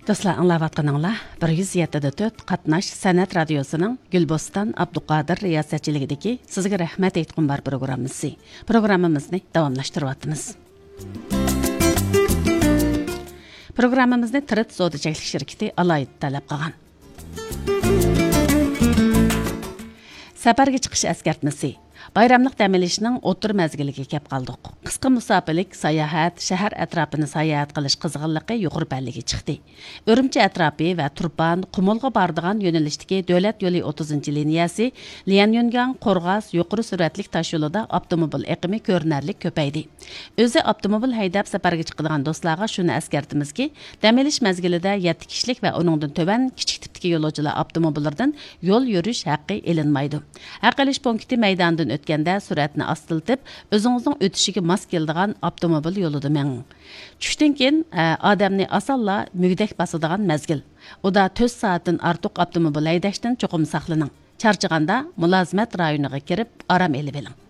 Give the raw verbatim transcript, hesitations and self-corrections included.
دوستلار، ئاڭلاۋاتقىنىڭلار بىر يۈز يەتتە دە تۆت قاتناش سەنئەت رادىيوسىنىڭ گۈلبوستان ئابدۇقادىر رىياسەتچىلىكىدىكى سىزگە رەھمەت ئېيتقۇم بار پروگراممىسى. پروگراممىمىزنى داۋاملاشتۇرۇۋاتىمىز. پروگراممىمىزنى تىرىت سودا چەكلىك شىركىتى ئالاھىدە تەلەپ قىلغان. سەپەرگە چىقىش ئەسكەرتمىسى. بايراملىق دەم ئېلىشنىڭ ئوتتۇرا مەزگىلىگە كەپ قالدۇق. قىسقا مۇساپىلىك ساياھەت، شەھەر ئەتراپىنى ساياھەت قىلىش قىزغىنلىقى يۇقىرى پەللىگە چىقتى. ئۈرۈمچى ئەتراپى ۋە تۇرپان، قۇمۇلغا بارىدىغان يۆنىلىشتىكى دۆلەت يولى ئوتتۇزىنچى لىنىيەسى، ليەنيۈنگاڭ، قورغاس يۇقىرى سۈرئەتلىك تاشيولىدا ئاپتوموبىل ئېقىمى كۆرۈنەرلىك كۆپەيدى. ئۆزى ئاپتوموبىل ھەيدەپ سەپەرگە چىقىدىغان دوستلارغا شۇنى ئەسكەرتىمىزكى، دەم ئېلىش مەزگىلىدە يەتتە كىشىلىك ۋە ئۇنىڭدىن تۆۋەن كىچىك تىپتىكى يولۇچىلار ئاپتوموبىللىرىدىن يول يۈرۈش ھەققى ئېلىنمايدۇ. ھەق ئېلىش پونكىتى مەيدانىدىن ئۆتكەندە سۈرئەتنى ئاستىلىتىپ، ئۆزىڭىزنىڭ ئۆتۈشىگە ماس كېلىدىغان ئاپتوموبىل يولىدا مېڭىڭ. چۈشتىن كېيىن، ئە، ئادەمنى ئاسانلا مۈگدەك باسىدىغان مەزگىل. ئۇدا تۆت سائەتتىن ئارتۇق ئاپتوموبىل ھەيدەشتىن چوقۇم ساقلىنىڭ. چارچىغاندا مۇلازىمەت رايونىغا كىرىپ ئارام ئېلىۋېلىڭ.